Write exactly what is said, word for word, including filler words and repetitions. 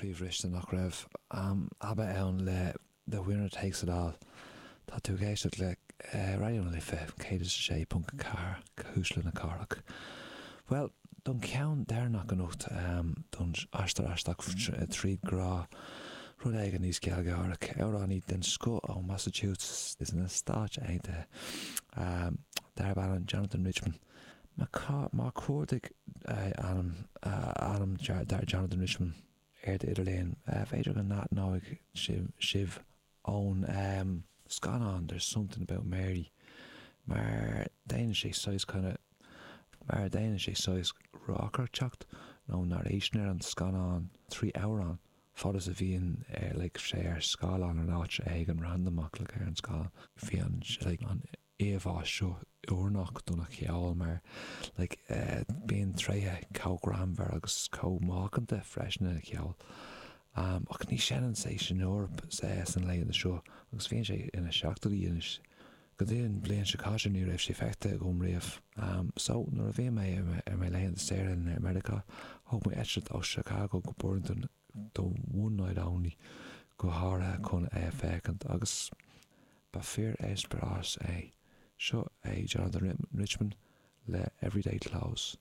Croíbhriste nach raibh um, ABBA ann le The Winner Takes It All. Tá tú ag éisteacht le uh, Raidió na Life céad sé ponc ceathair Cuisle na Cathrach. Well, don ceann deireanach anocht um, don aistear aisteach tríd grá rud éigin níos gealgháireach amhránaí den scoth ó Massachusetts is na Stáit Aontaithe um, darb ainm Jonathan Richman. Má chuardaigh ainm ainm dar Jonathan Richman ar idirlíon b'fhéidir go n-aithneoidh sibh ón um, scannán there's something about Mary mar déanann sé saghas kind of mar déanann sé saghas reacaireacht nó narration ar an scannán trí amhrán fad is a bhíonn ar like, sé ar scáileán an áit ag an randomach le ar an scáileán bhíonn like, an íomhá seo oiriúnach don cheol mar like, uh, bíonn tréithe chomh greannmhar agus chomh macánta freisin ina cheol. Um, ach ní seinneann sé san Eoraip san laethanta seo agus bhíonn sé ina seachtóidí anois. Go dtí an bhliain seo caite ní raibh sé feicthe agam riamh. Um, so nuair a bhí mé ar mé laethanta saoire in America, thóg mé eitilt ó Chicago go Burlington do one night only go háirithe chun é a fhéachaint agus ba fíor-eispéireas é. Seo é Jonathan Richman le Everyday Clothes.